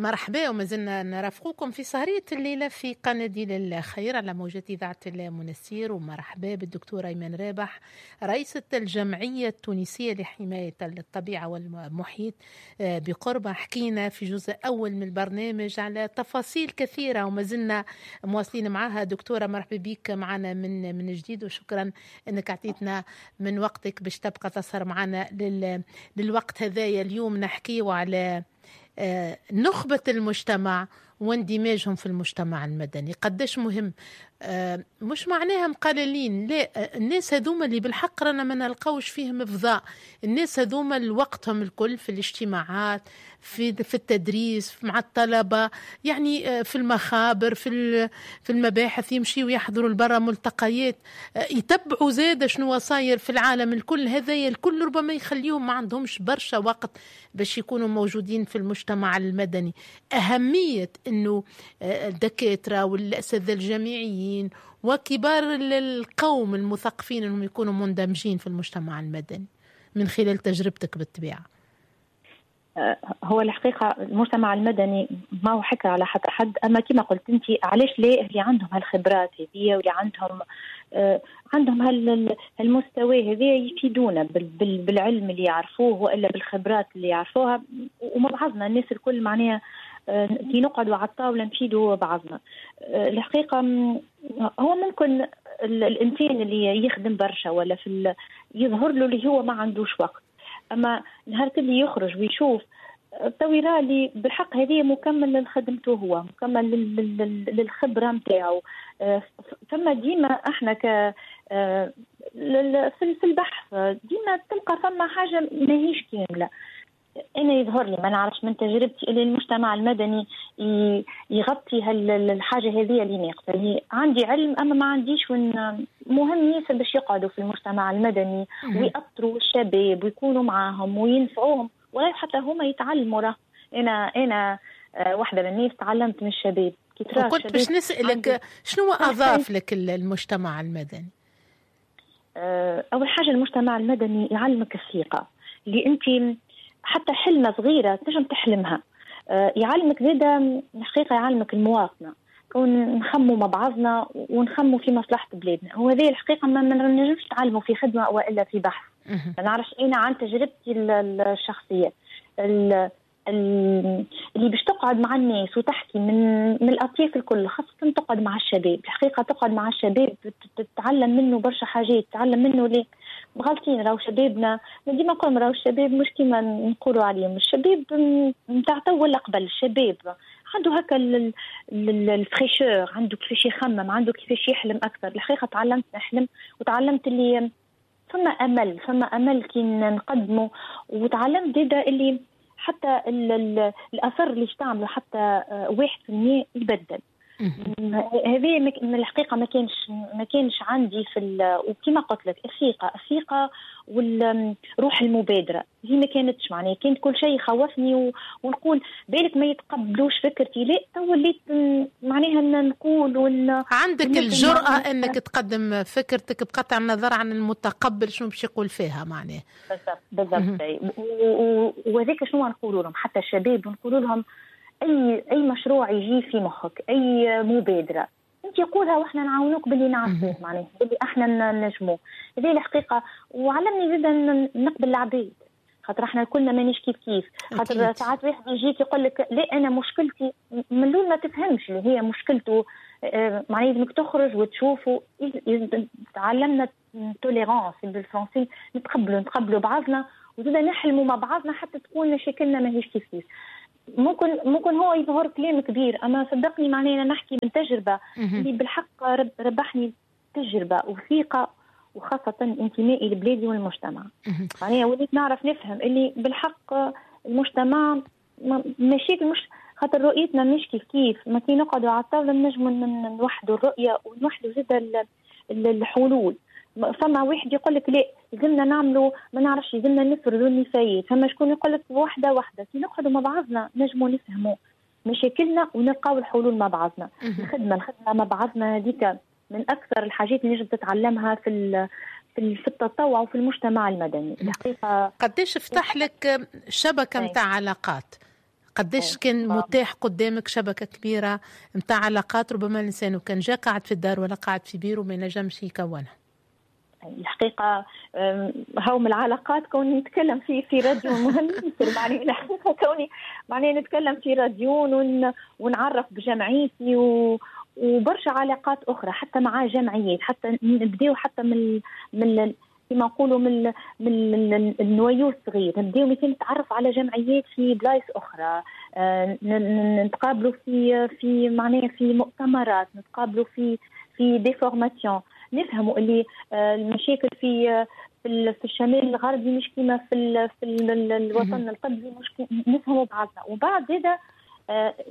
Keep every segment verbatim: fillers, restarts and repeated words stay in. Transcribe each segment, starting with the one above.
مرحبا، وما زلنا نرافقكم في سهرية الليلة في قناديل الخير على موجات إذاعة المنستير. ومرحبا بالدكتورة إيمان رابح، رئيسة الجمعية التونسية لحماية الطبيعة والمحيط بقربة. حكينا في جزء أول من البرنامج على تفاصيل كثيرة وما زلنا مواصلين معها. دكتورة مرحبا بك معنا من من جديد، وشكرا أنك أعطيتنا من وقتك باش تبقى تسهر معنا لل للوقت هذايا. اليوم نحكيه على نخبة المجتمع واندماجهم في المجتمع المدني، قداش مهم. مش معناها مقللين، لا، الناس هذوما اللي بالحق رانا ما نلقاوش فيهم فضاء، الناس هذوما وقتهم الكل في الاجتماعات، في في التدريس مع الطلبة، يعني في المخابر، في في المباحث، يمشيوا يحضروا لبرا ملتقيات، يتبعوا زاد شنو صاير في العالم الكل. هذايا الكل ربما يخليهم ما عندهمش برشا وقت باش يكونوا موجودين في المجتمع المدني. أهمية أنه الدكاترة والأساتذة الجامعيين وكبار القوم المثقفين أنهم يكونوا مندمجين في المجتمع المدني من خلال تجربتك بالطبيعة. هو الحقيقة المجتمع المدني ما هو حكر على حتى حد، أما كما قلت أنت علاش لا اللي عندهم هالخبرات هذه واللي عندهم آه عندهم هالمستوى هذا يفيدونا بالعلم اللي يعرفوه وإلا بالخبرات اللي يعرفوها، ومع بعضنا الناس الكل معناها آه كي نقعدوا على الطاولة نفيدوا بعضنا. آه الحقيقة هو ممكن الإنسان اللي يخدم برشا ولا في يظهر له اللي هو ما عندوش وقت، أما نهار اللي يخرج ويشوف تو يرى اللي بالحق هذه مكمل لخدمته، هو مكمل للخبرة نتاعو. ثم ديما احنا ك في البحث ديما تلقى فما حاجة ماهيش كاملة. أنا يظهر لي ما نعرفش من تجربتي اللي المجتمع المدني يغطي هالحاجة هذه اللي ناقصة. اللي عندي علم أما ما عنديش، ون مهم ياسر باش يقعدوا في المجتمع المدني ويأطروا الشباب ويكونوا معاهم وينفعوهم، ولا حتى هما يتعلموا. راه أنا أنا واحدة من الناس تعلمت من الشباب. وكنت باش نسألك شنو أضاف لك المجتمع المدني؟ أول حاجة المجتمع المدني يعلمك الثقة اللي أنت حتى حلمة صغيرة تنجم تحلمها. يعلمك زادة الحقيقة، يعلمك المواطنة، كون نخموا مع بعضنا ونخموا في مصلحة بلادنا. وهذه الحقيقة ما نجمش نتعلموا في خدمة وإلا في بحث. ما نعرفش أنا عن تجربتي الشخصية اللي باش تقعد مع الناس وتحكي من من الأطياف الكل، خاصة تقعد مع الشباب. الحقيقة تقعد مع الشباب تتعلم منه برشا حاجات، تتعلم منه ليه غالطين. راهو شبابنا ديما نقول راهو الشباب مش كيما نقولوا عليهم، الشباب نتاع تو ولا قبل. الشباب عنده هكا ال fraîcheur، عنده كيفاش يخمم، عنده كيفاش يحلم أكثر. الحقيقة تعلمت نحلم، وتعلمت اللي فما أمل، فما أمل كي نقدمه. وتعلمت زاده اللي حتى الأثر اللي تعمله حتى واحد في المية يبدل. هذه من الحقيقة ما كانش ما كانش عندي في، وكما قلت لك الثقة، الثقة والروح المبادرة هي ما كانتش معناها، كانت كل شيء يخوفني ونقول بالك ما يتقبلوش فكرتي. لا تو وليت معناها نقول ون... عندك الجرأة انك تقدم فكرتك بقطع النظر عن المتقبل شنو باش يقول فيها معناها. بالضبط بالضبط. وهذاك شنو نقولوا لهم حتى الشباب، نقولوا لهم اي اي مشروع يجي في مخك، اي مبادرة انت قولها واحنا نعاونوك باللي نعرفوه معناها باللي احنا نجموه. هذه الحقيقة. وعلمني زادا نقبل العباد، خاطر احنا كلنا مانيش كيف كيف. خاطر ساعات واحد يجيك يقول لك لا انا مشكلتي، من الاول ما تفهمش اللي هي مشكلته، معناها لازمك تخرج وتشوفه. تعلمنا tolérance بالفرنسي، نتقبلوا نتقبلوا بعضنا وزادا نحلموا مع بعضنا حتى تكون مشاكلنا ماهيش كيف كيف. ممكن ممكن هو يظهر كلام كبير، اما صدقني معناها نحكي من تجربه اللي بالحق رب ربحني تجربه وثقه، وخاصة انتمائي لبلادي والمجتمع. معناها وليت نعرف نفهم اللي بالحق المجتمع مشاكل مش خاطر رؤيتنا مش كيف كيف. ما كي نقعدوا على الطاولة نجموا نوحدوا الرؤية ونوحدوا زاد الحلول. فما واحد يقول لك لا لازمنا نعملوا ما نعرفش، لازمنا نفرضوا النفايات. فما شكون يقول لك واحدة واحدة. كي نقعدوا مع بعضنا نجموا نفهموا مشاكلنا ونلقاو الحلول مع بعضنا. الخدمة الخدمة مع بعضنا هذيك من اكثر الحاجات اللي نجم تتعلمها في في التطوع وفي المجتمع المدني الحقيقة. قداش فتح لك شبكة نتاع علاقات؟ قداش كان متاح قدامك شبكة كبيرة متاع علاقات ربما الإنسان وكان جا قاعد في الدار ولا قاعد في بيرو ما ينجمش يكونها. الحقيقة هاو من العلاقات كوني نتكلم في في راديو مهم معني الحقيقة كوني معني نتكلم في راديو ون ونعرف بجمعيتي و وبرشا علاقات أخرى حتى مع جمعيات، حتى نبداو حتى من من كما نقولوا من من ال noyau الصغير، نبداو مثلا نتعرف على جمعيات في بلايص اخرى، نتقابلوا في في معناها في مؤتمرات، نتقابلوا في في des formations، نفهموا اللي المشاكل في في الشمال الغربي مش كيما في في الوطن القبلي، مش نفهموا بعضنا. وبعد زاده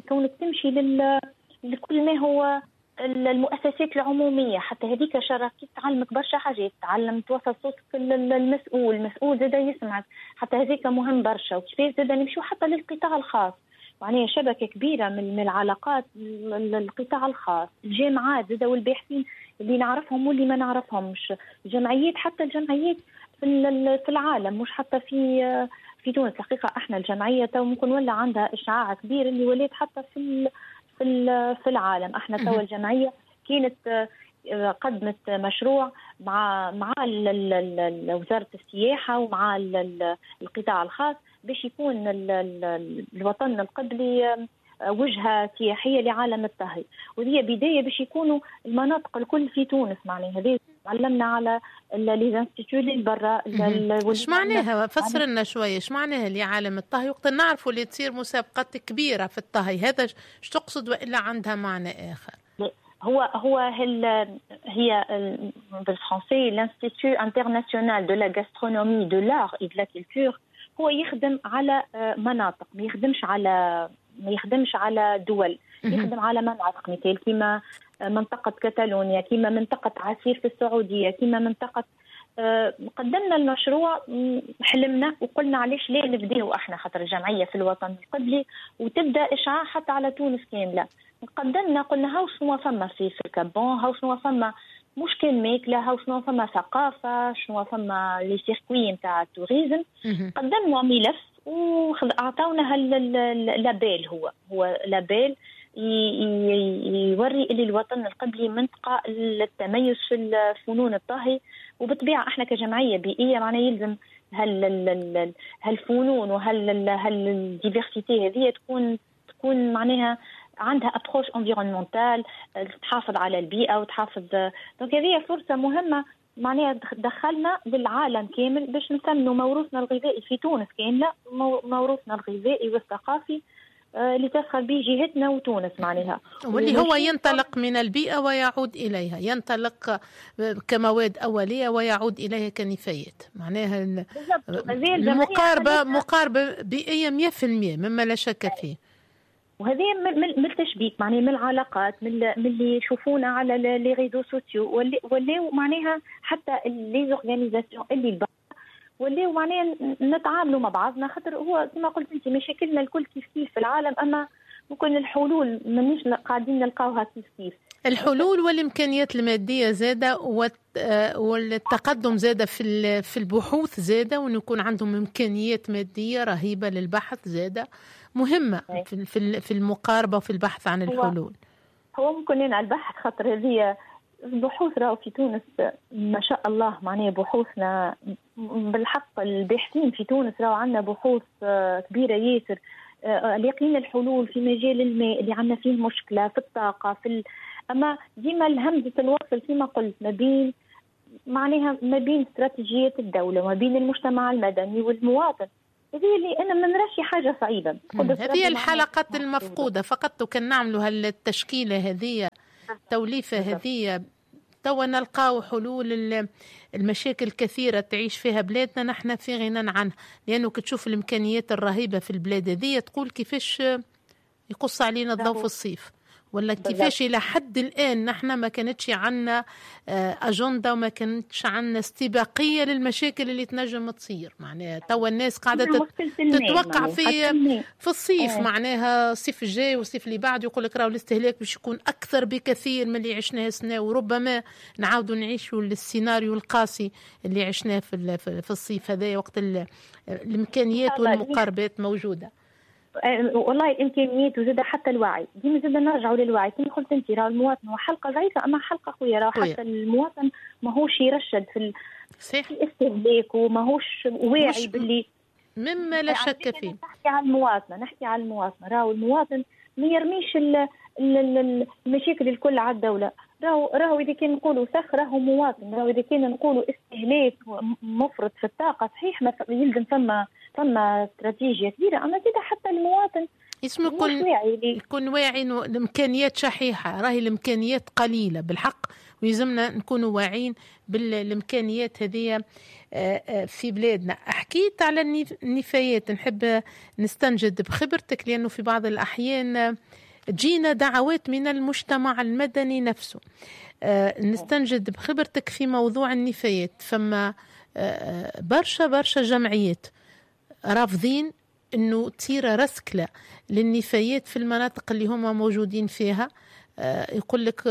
كونك تمشي لل لكل ما هو المؤسسات العمومية، حتى هذيك شراكة تعلمك برشا حاجات، تعلم توصل صوتك للمسؤول، المسؤول زاده يسمعك، حتى هذيك مهم برشا. وكيفاش زاده نمشيو حتى للقطاع الخاص، معناها شبكة كبيرة من العلاقات القطاع الخاص، الجامعات زاده والباحثين اللي نعرفهم واللي ما نعرفهمش، الجمعيات، حتى الجمعيات في العالم مش حتى في في تونس. الحقيقة احنا الجمعية تو ممكن ولا عندها اشعاع كبير اللي ولات حتى في في في العالم. احنا توا الجمعية كانت قدمت مشروع مع مع وزارة السياحة ومع القطاع الخاص باش يكون الوطن القبلي وجهه سياحية لعالم الطهي، وهي بداية باش يكونوا المناطق الكل في تونس. معناها هذه تعلمنا على les instituts اللي برا. ايش معناها؟ فسر لنا شوية ايش معناها لعالم الطهي، وقت نعرفوا اللي تصير مسابقات كبيرة في الطهي، هذا ايش تقصد والا عندها معنى اخر؟ هو هو هل هي بالفرنسي l'Institut international de la gastronomie de l'art et de la culture، هو يخدم على مناطق، ما يخدمش على ما يخدمش على دول، يخدم على مناطق، مثال كيما منطقة كتالونيا، كيما منطقة عسير في السعودية، كيما منطقة. قدمنا المشروع، حلمنا وقلنا علاش لا نبداو احنا، خاطر الجمعية في الوطن القبلي وتبدا إشعاع حتى على تونس كاملة. قدمنا قلنا هاو شنو فما في في ال Cap Bon، هاو شنو فما مش كان ماكلة، هاو شنو فما ثقافة، شنو فما les circuits نتاع ال tourisme. قدمنا ملف وأعطونا ال label، هو هو label يوري اللي الوطن القبلي منطقة للتميز في فنون الطهي. وبالطبيعة احنا كجمعية بيئية معناها يلزم هال هالفنون وهال هال diversité هذه تكون تكون معناها عندها approche environnementale، تحافظ على البيئة وتحافظ. donc هذه فرصة مهمة معناها دخلنا للعالم كامل باش نسمنوا موروثنا الغذائي في تونس كاملة، موروثنا الغذائي والثقافي اللي تفخر به جهتنا وتونس معناها، واللي هو ينطلق من البيئة ويعود إليها، ينطلق كمواد أولية ويعود إليها كنفايات. معناها المقاربة مقاربة بيئية مية في المية مما لا شك فيه. وهذه من التشبيك معناها من العلاقات، من من اللي يشوفونا على les réseaux sociaux، ولاو معناها حتى les organisations اللي ولاو معناها نتعاملوا مع بعضنا، خاطر هو كما قلت انت مشاكلنا الكل كيف كيف في العالم، اما ممكن الحلول مانيش قاعدين نلقاوها كيف كيف. الحلول والامكانيات المادية زاده والتقدم زاده في في البحوث زاده، وان يكون عندهم امكانيات مادية رهيبة للبحث زاده مهمة في في المقاربة وفي البحث عن الحلول. هو ممكن على البحث، خاطر هذه البحوث راهو في تونس ما شاء الله، معناها بحوثنا بالحق الباحثين في تونس راهو عندنا بحوث كبيرة ياسر، لاقيين الحلول في مجال الماء اللي عندنا فيه مشكلة، في الطاقة، في ال... أما ديما الهمزة الوصل كما قلت ما بين معناها ما بين استراتيجيات الدولة وما بين المجتمع المدني والمواطن، هذه اللي أنا ما نراش حاجة صعيبة. هذه الحلقات المفقودة فقط، وكان نعملوا هالتشكيلة هذه التوليفة هذه توا نلقاو حلول المشاكل الكثيرة تعيش فيها بلادنا نحن في غنى عنها، لأنه كتشوف الإمكانيات الرهيبة في البلاد هذه تقول كيفاش يقص علينا الضوء في الصيف، ولا كيفاش إلى حد الآن نحن ما كانتش عنا أجندة وما كانتش عنا استباقية للمشاكل اللي تنجم تصير. معناها توا الناس قاعدة تتوقع في في الصيف، معناها الصيف الجاي والصيف اللي بعد يقول لك راهو الاستهلاك باش يكون أكثر بكثير من اللي عشناه السنة، وربما نعاودوا نعيشوا السيناريو القاسي اللي عشناه في في الصيف هذا، وقت الإمكانيات والمقاربات موجودة. والله الامكانيات وزاد حتى الوعي، ديما زاد نرجعوا للوعي كما قلت انت، راه المواطن هو حلقة ضعيفة اما حلقة قوية، راه حتى المواطن ماهوش يرشد في صحيح في الاستهلاك وماهوش واعي باللي مما لا شك فيه. نحكي على المواطنة، نحكي على المواطنة، راهو المواطن ما يرميش المشاكل الكل على الدولة، راهو راهو اذا كان نقولوا سخ راهو مواطن، راهو اذا كان نقولوا استهلاك مفرط في الطاقة صحيح ما يلزم فما فما استراتيجية كبيرة، اما زاد حتى المواطن اسمه يكون واعي يكون واعي الامكانيات شحيحة، راهي الامكانيات قليله بالحق، ويلزمنا نكونوا واعيين بالامكانيات هذه في بلادنا. حكيت على النفايات، نحب نستنجد بخبرتك لانه في بعض الاحيان تجينا دعوات من المجتمع المدني نفسه. نستنجد بخبرتك في موضوع النفايات. فما برشا برشا جمعيات رافضين انه تصير رسكلة للنفايات في المناطق اللي هما موجودين فيها، يقول لك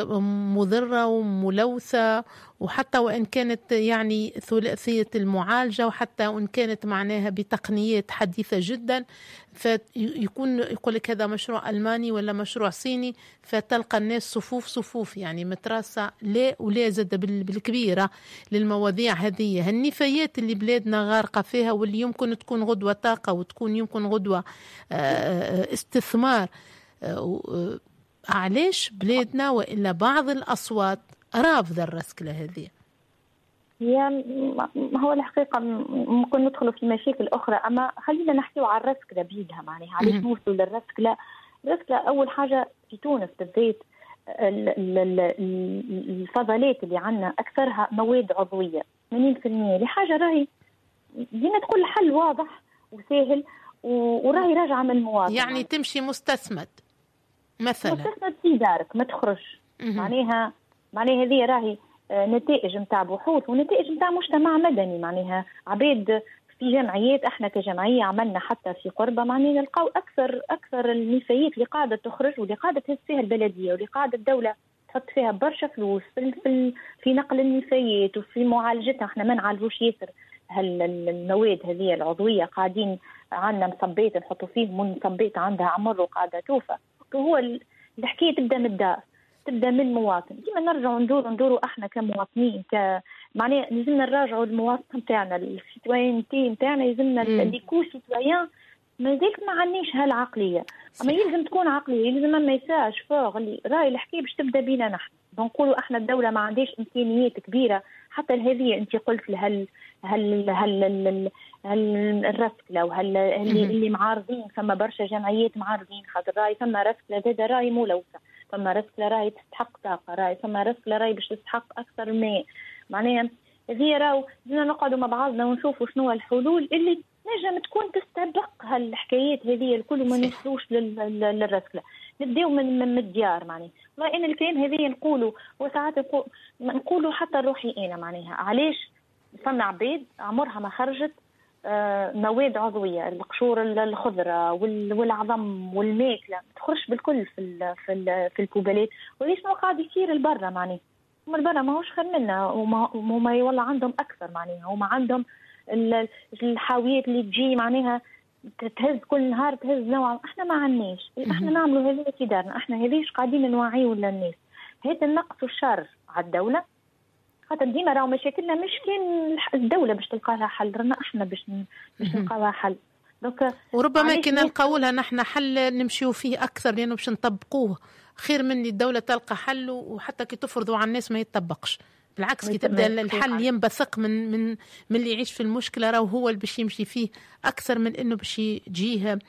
مضرة وملوثة، وحتى وإن كانت يعني ثلاثية المعالجة، وحتى وإن كانت معناها بتقنيات حديثة جدا، فيكون يقول لك هذا مشروع ألماني ولا مشروع صيني، فتلقى الناس صفوف صفوف يعني متراسة لا ولا زاد بالكبيرة للمواضيع هذه. النفايات اللي بلادنا غارقة فيها واللي يمكن تكون غدوة طاقة وتكون يمكن غدوة استثمار، علاش بلادنا وإلا بعض الأصوات رافضة الرسكلة هذه؟ هي هو الحقيقة ممكن ندخلوا في مشاكل أخرى، أما خلينا نحكيو على الرسكلة بيدها. معناها علاش نوصلوا للرسكلة؟ الرسكلة أول حاجة في تونس بالذات الفضلات اللي عندنا أكثرها مواد عضوية ثمانين بالمئة، لحاجة راهي ديما تقول الحل واضح وسهل وراهي راجعة من المواطن. يعني تمشي مستثمد مثلا، مستثمر في دارك ما تخرج. معناها معناها هذه راهي نتائج نتاع بحوث ونتائج نتاع مجتمع مدني، معناها عباد في جمعيات، احنا كجمعية عملنا حتى في قربه معناها نلقاو اكثر اكثر النفايات اللي قاعدة تخرج واللي قاعدة تهز فيها البلدية واللي قاعدة الدولة تحط فيها برشا فلوس في في, في نقل النفايات وفي معالجتها. احنا ما نعالجوش ياسر هالمواد هذه العضوية، قاعدين عندنا مصبيت نحطوا فيه، مصبيت عندها عمر وقاعدة توفى. هو الحكاية تبدا من الدار، تبدا من المواطن. ديما نرجعوا ندوروا ندوروا احنا كمواطنين، ك معناها لازمنا نراجعوا المواطن نتاعنا، ال citoyenneté نتاعنا، لازمنا l'éco-citoyen. مازالت ما عندناش هالعقليه، اما يلزم تكون عقلية، يلزم message fort اللي راهي الحكاية باش تبدا بينا نحن. نقولوا احنا الدولة ما عندهاش امكانيات كبيرة حتى لهذه. انت قلت لهال هل هل هل الرسكله وهل اللي, اللي معارضين، فما برشا جمعيات معارضين خاطر راي فما رسكله زاد راي ملوثة، فما رسكله راي تستحق طاقة، راي فما رسكله راي باش تستحق اكثر ماء. معناها هذه راهو لازمنا نقعدوا مع بعضنا ونشوفوا شنو الحلول اللي نجم تكون تستبق هالحكايات هذه الكل وما نوصلوش للرسكله. نبداو من من الديار. معناها والله انا الكلام هذه نقولوا وساعات نقولوا حتى روحي انا، معناها علاش فما عباد عمرها ما خرجت مواد عضوية، القشور الخضرة والعظم والماكله ما تخرجش بالكل في ال في ال في البوبالات. وليش ما قاعد يصير البرة؟ معناها هما البرة ماهوش خير منا، وما والله عندهم اكثر، معناها هما عندهم الحاويات اللي تجي معناها تهز كل نهار تهز نوع، احنا ما عندناش. احنا نعملوا هذه في دارنا، احنا هذيش قاعدين نوعيوا للناس. هذا النقص والشر على الدولة، خاطر ديما راهو مشاكلنا مش كان الدولة باش تلقى لها حل، رانا احنا باش باش نلقى لها حل. donc وربما كي نلقاو لها نحن حل نمشيو فيه اكثر لانه باش نطبقوه خير من الدولة تلقى حل، وحتى كي تفرضوا على الناس ما يتطبقش. بالعكس كي تبدا الحل ينبثق من من من اللي يعيش في المشكلة، راهو هو اللي باش يمشي فيه اكثر من انه باش يجيه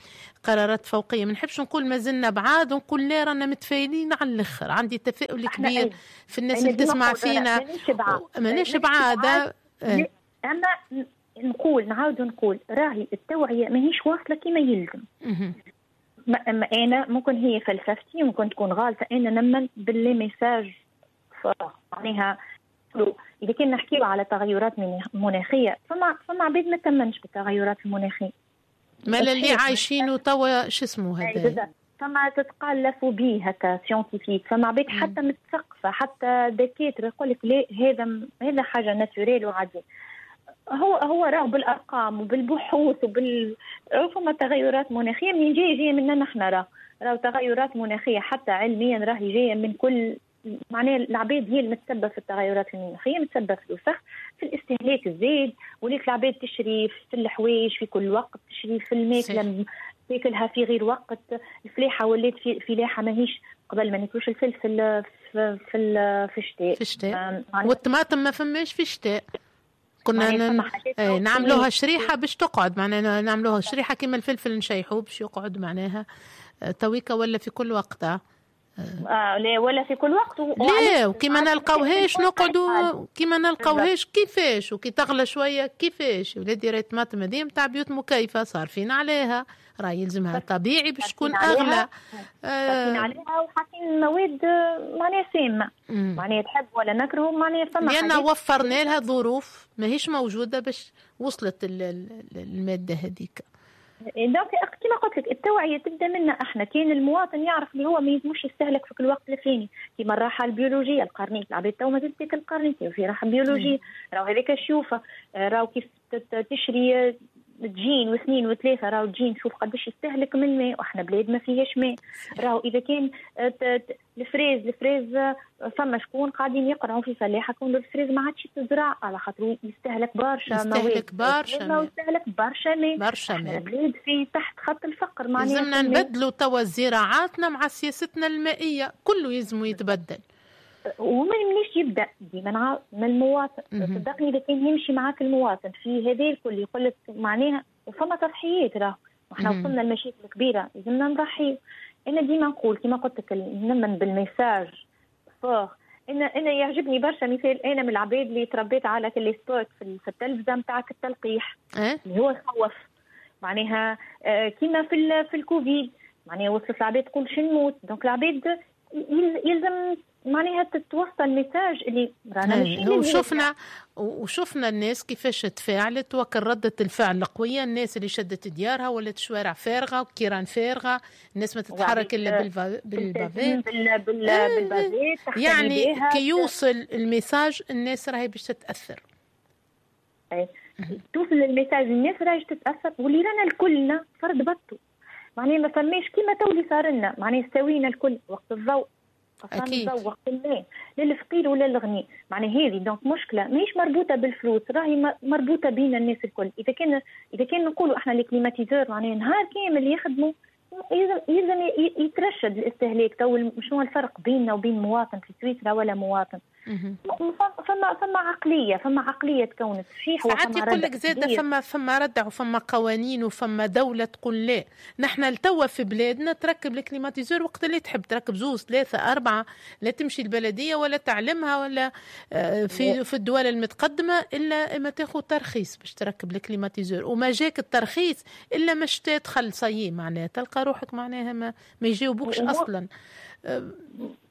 قرارات فوقيه. ما نحبش نقول ما زلنا بعاد، ونقول لا رانا متفائلين على الاخر. عندي تفاؤل كبير في الناس اللي تسمع فينا، ماناش بعاد. اما نقول نعاود نقول راهي التوعية ماهيش واصله كما يلزم. ما انا ممكن هي فلسفتي ممكن تكون غالطه، انا نمن ب les messages معناها. إذا كنا نحكيو على تغيرات مناخية، فما فما عباد ما تمنش بالتغيرات المناخية. ما اللي عايشينه توا شو اسمه هذا؟ فما تتقال la phobie هكا scientifique، فما عباد حتى متثقفة حتى دكاترة يقول لك لا هذا هذا حاجة naturelle وعادية. هو هو راه بالارقام وبالبحوث وبال فما تغيرات مناخيه منين جاية؟ جاية منا نحن. راه راه تغيرات مناخيه حتى علميا راهي جاية من كل، معناها العباد هي المتسبب في التغيرات المناخية، متسبب في الوسخ، في الاستهلاك الزايد، وليت العباد تشري في الحوايج في كل وقت، تشري في الماكلة تاكلها في غير وقت، الفلاحة ولات في فلاحة ماهيش قبل ما ناكلوش الفلفل في في, في الشتاء في الشتاء، والطماطم ما فماش في الشتاء، كنا ن... ايه نعملوها شريحة باش تقعد، معناها نعملوها شريحة كيما الفلفل نشيحوه باش يقعد معناها تويكا ولا في كل وقت. آه لا ولا في كل وقت و... لا وكيما نلقاوهاش نقعدوا كيما نلقاوهاش كيفاش، وكي تغلى شوية كيفاش. ولادي راهي الطماطم هذه نتاع بيوت مكيفه صارفين عليها، راه يلزمها طبيعي باش تكون اغلى. صارفين عليها وحاطين مواد معناها سامة، معناها تحب ولا نكره، معناها فما لان وفرنا لها ظروف ماهيش موجودة باش وصلت المادة هذيك. donc كما قلت لك التوعية تبدا منا احنا، كان المواطن يعرف اللي هو ما يلزموش يستهلك في كل وقت الفلاني، كيما الراحة البيولوجية القرنيط، العباد تو مازال تاكل القرنيط وفي راحة بيولوجية، راهو هذاك شوفه، راهو كيف تشري تجين واثنين وثلاثة، راهو تجين شوف قداش يستهلك من ماء، واحنا بلاد ما فيهاش ماء. راهو اذا كان ال fraise ال fraise فما شكون قاعدين يقرعوا في فلاحة كون ال fraise ما عادش تزرع على خاطر يستهلك برشا مواد، يستهلك برشا ماء، يستهلك برشا ماء، برشا ماء. بلاد في تحت خط الفقر، معناها لازمنا نبدلوا توا زراعاتنا مع سياستنا المائية، كله يلزم يتبدل. ومن منيش يبدا ديما من المواطن، صدقني اذا كان يمشي معاك المواطن في هذا الكل يقول لك معناها، وفما تضحيات راه، وحنا وصلنا لمشاكل كبيرة لازمنا نضحي. انا ديما نقول كما قلت لك نمن بال message fort. انا انا يعجبني برشا مثال، انا من العباد اللي تربيت على les spots في التلفزة نتاعك التلقيح أه؟ اللي هو يخوف معناها، كيما في في الكوفيد معناها وصلت العباد تقول شو نموت، donc العباد يلزم معناها تتوصل message اللي رانا ماشيين. وشفنا وشفنا الناس كيفاش تفاعلت وكان ردة الفعل القوية، الناس اللي شدت ديارها ولات شوارع فارغة وكيران فارغة، الناس ما تتحرك الا بالفا... بال bavette بال... بال... بال bavette. يعني كي يوصل ال message الناس راهي باش تتأثر. أي. توصل ال message الناس راهي تتأثر، واللي رانا الكلنا فرد بطو، معناها ما فماش كيما تو اللي صار لنا، معناها سوينا الكل وقت الضوء أكيد وقت الماء للفقير ولا للغني، معناها هذه donc مشكلة ماهيش مربوطة بالفلوس، راهي مربوطة بين الناس الكل. اذا كان اذا كان نقولوا احنا les climatiseurs معناها نهار كامل يخدموا، يلزم يلزم يترشد الاستهلاك. تو شنو الفرق بيننا وبين مواطن في سويسرا ولا مواطن؟ فما فما عقلية، فما عقلية تكونت صحيح. ساعات يقول لك زاده فما فما ردع وفما قوانين وفما دولة تقول لا، نحن لتوا في بلادنا تركب ال climatiseur وقت اللي تحب، تركب زوز ثلاثة اربعة، لا تمشي البلدية ولا تعلمها ولا في في الدول المتقدمة الا ما تاخذ ترخيص باش تركب ال climatiseur، وما جاك الترخيص الا ما تدخل صي معناها تلقى روحك معناها ما, ما يجاوبوكش اصلا.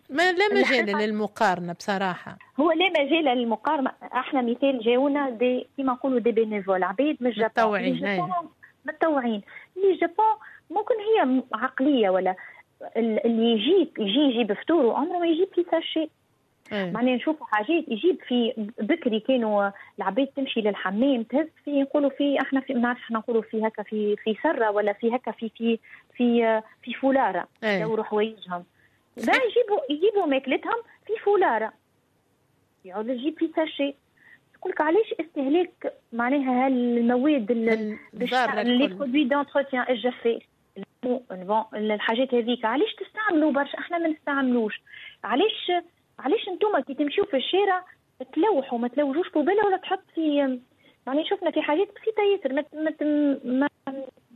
ما لا مجال للمقارنة بصراحة، هو لا مجال للمقارنة. احنا مثال جاونا des كيما نقولوا des bénévoles، عبيد من الجابون متطوعين متطوعين les Japon. ممكن هي عقلية ولا اللي يجيب يجي يجيب فطوره عمره ما يجيب في sachet. معناها نشوفوا حاجات يجيب في بكري كانوا العباد تمشي للحمام تهز في نقولوا في احنا في ما نعرفش احنا نقولوا في هكا في في سره ولا في هكا في في في في فولاره يدوروا حوايجهم، بقى يجيبوا يجيبوا ماكلتهم في فولاره، يعود يجيب في sachet. يقول لك علاش استهلاك معناها هالمواد les produits d'entretien الجفاف الحاجات هذيك علاش تستعملوا برشا، احنا ما نستعملوش. علاش علاش انتم كي تمشيو في الشارع تلوحوا ما تلوجوش poubelle ولا تحط في، معناها شفنا في حاجات بسيطة ياسر ما ما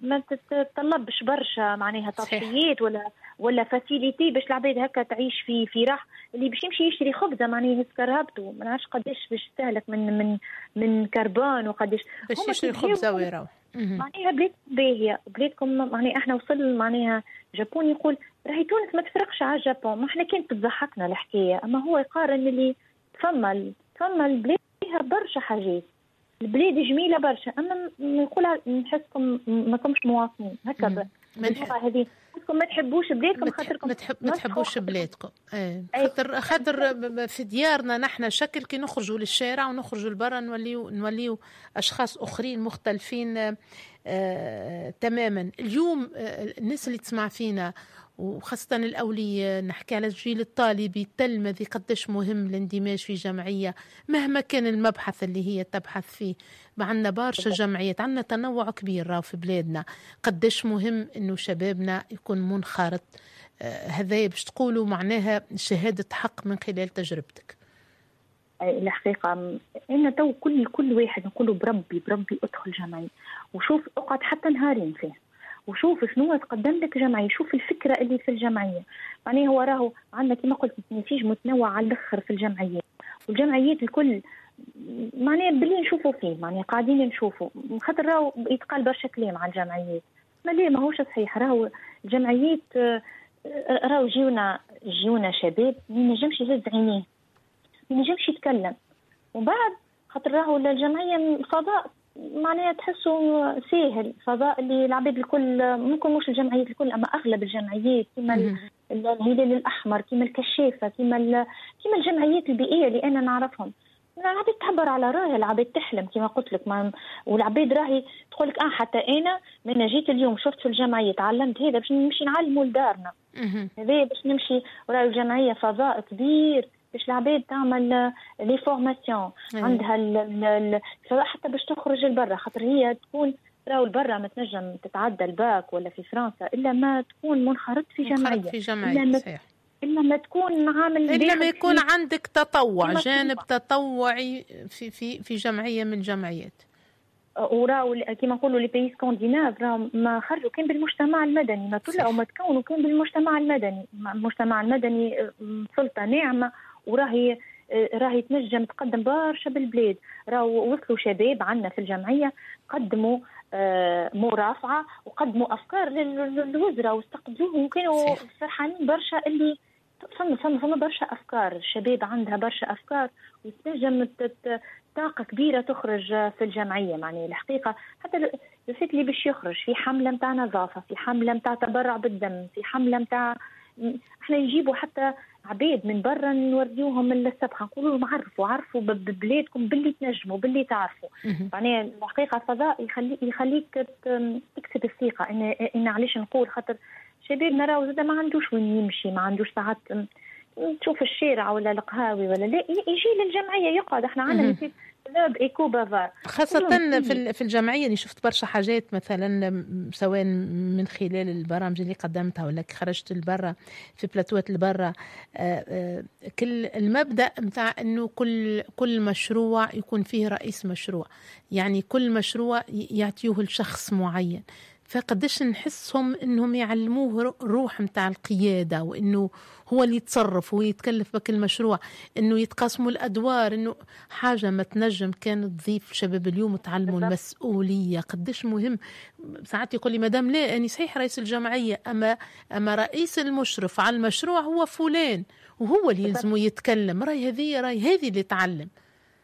ما تتطلبش برشا معناها تضحيات ولا ولا facilité باش العباد هكا تعيش في في راح. اللي باش يمشي يشري خبزه معناها يهز كرهبته ما نعرفش قداش باش يستهلك من من من كربون وقداش باش يشري خبزه ويروح. معناها بلاد باهيه بلادكم، معناها احنا وصل معناها Japon يقول راهي تونس ما تفرقش على ال Japon، ما احنا كانت تضحكنا الحكاية، اما هو يقارن اللي فما فما البلاد فيها برشا حاجات. البلاد جميلة برشا، اما نقولها نحسكم ما كمش مواطنين هكا باللغة هذه، ما تحبوش بلادكم خاطركم ما تحبوش بلادكم. ايه خاطر خاطر في ديارنا نحن شكل، كي نخرجوا للشارع ونخرجوا لبرا نوليو نوليو اشخاص اخرين مختلفين آه تماما. اليوم آه الناس اللي تسمع فينا وخاصة الأولياء، نحكي على الجيل الطالبي التلمذي، قديش مهم الاندماج في جمعية مهما كان المبحث اللي هي تبحث فيه. عندنا برشا جمعيات، عندنا تنوع كبير راهو في بلادنا. قديش مهم إنه شبابنا يكون منخرط. آه هذا باش تقولوا معناها شهادة حق من خلال تجربتك. الحقيقة أنا تو كل كل واحد نقوله بربي بربي ادخل جمعية وشوف، اقعد حتى نهارين فيه وشوف شنو تقدم لك جمعية، شوف الفكرة اللي في الجمعية. معناها هو راهو عندنا كما قلت نسيج متنوع على الاخر في الجمعيات، والجمعيات الكل معناها باللي نشوفوا فيه، معناها قاعدين نشوفوا، خاطر راهو يتقال برشا كلام على الجمعيات، ما ليه ماهوش صحيح. راهو الجمعيات راهو جيونا جيونا شباب ما ينجمش يهز عينيه، ما ينجمش يتكلم، ومن بعد خاطر راهو الجمعية فضاء معناها تحسوا ساهل، فضاء اللي العباد الكل ممكن مش الجمعيات الكل اما اغلب الجمعيات كما الهلال الاحمر، كما الكشافه، كما كما الجمعيات البيئية اللي انا نعرفهم، العباد تعبر على راهي، العباد تحلم كما قلت لك، ما والعباد راهي تقول لك اه حتى انا من جيت اليوم شفت في الجمعية تعلمت هذا باش نمشي نعلمه لدارنا، هذا باش نمشي. وراهي الجمعية فضاء كبير باش العباد تعمل les formations عندها ال ال حتى باش تخرج لبرا، خاطر هي تكون راهو لبرا ما تنجم تتعدى الباك ولا في فرنسا الا ما تكون منخرط في جمعية، في جمعية صحيح، الا ما تكون عامل، الا ما يكون عندك تطوع، جانب تطوعي في في في جمعية من الجمعيات. وراو كيما نقولوا les pays scandinaves راهو ما خرجوا كان بالمجتمع المدني، ما طلعوا ما تكونوا كان بالمجتمع المدني. المجتمع المدني سلطة ناعمة وراهي راهي تنجم تقدم برشا بالبلاد. راهو وصلوا شباب عندنا في الجمعية قدموا مرافعه وقدموا افكار للوزراء واستقبلوهم وكانوا فرحانين برشا. اللي فما فما فما برشا افكار، الشباب عندها برشا افكار وتنجم طاقة كبيرة تخرج في الجمعية. معناها الحقيقة حتى الفت اللي باش يخرج في حمله نتاع نظافة، في حمله نتاع تبرع بالدم، في حمله نتاع احنا نجيبوا حتى عباد من برا نوريوهم السبخه، نقولوا لهم عرفوا عرفوا ببلادكم باللي تنجموا باللي تعرفوا. معناها الحقيقة فضاء يخلي يخليك تكسب الثقة. ان ان علاش نقول خاطر شبابنا راهو زاد ما عندوش وين يمشي، ما عندوش ساعات تشوف الشارع ولا القهاوي ولا لا، يجي للجمعية يقعد. احنا عندنا مثال club éco bavard خاصة في في الجمعية اللي شفت برشا حاجات مثلا، سواء من خلال البرامج اللي قدمتها ولا خرجت لبرا في بلاتوات لبرا، كل المبدأ متاع انه كل كل مشروع يكون فيه رئيس مشروع، يعني كل مشروع يعطيوه لشخص معين، فقداش نحسهم انهم يعلموه روح متاع القيادة، وانه هو اللي يتصرف ويتكلف بك المشروع، انه يتقاسموا الادوار، انه حاجة ما تنجم كانت تضيف شباب اليوم تعلموا المسؤولية. قداش مهم. ساعات يقول لي مدام لا اني صحيح رئيس الجمعية، اما اما رئيس المشرف على المشروع هو فلان وهو اللي يلزمه يتكلم، راي هذه راي هذه اللي تعلم.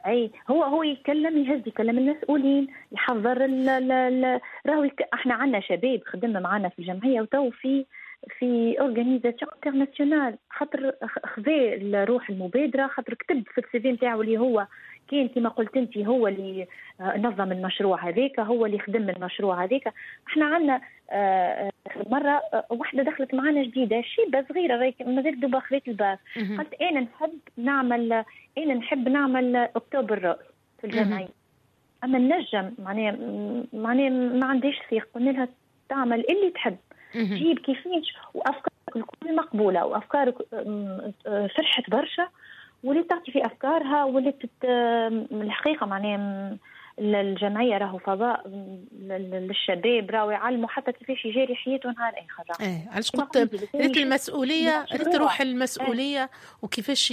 اي هو هو يتكلم، يهز، يكلم المسؤولين، يحضر ال راهو احنا عندنا شباب خدمنا معنا في الجمعية وتو في في organisation internationale، خاطر خذا روح المبادرة، خاطر كتب في ال CV نتاعو اللي هو كان كما قلت انت هو اللي نظم المشروع هذاك، هو اللي خدم المشروع هذاك. احنا عندنا مرة واحدة دخلت معنا جديدة، شيبة صغيرة مازالت دوبا خذت الباك، قالت انا نحب نعمل انا نحب نعمل octobre rose في الجمعية، اما النجم معناها معناها ما عنديش ثقة. قلنا لها تعمل اللي تحب، جيب كيفاش، وافكارك الكل مقبولة، وافكارك فرحت برشا ولات تعطي في افكارها، ولات الحقيقة معناها الجمعية راهو فضاء للشباب، راهو يعلموا حتى كيفاش يجاري حياته نهار اخر. ايه علاش قلت ريت المسؤولية، ريت روح المسؤولية وكيفاش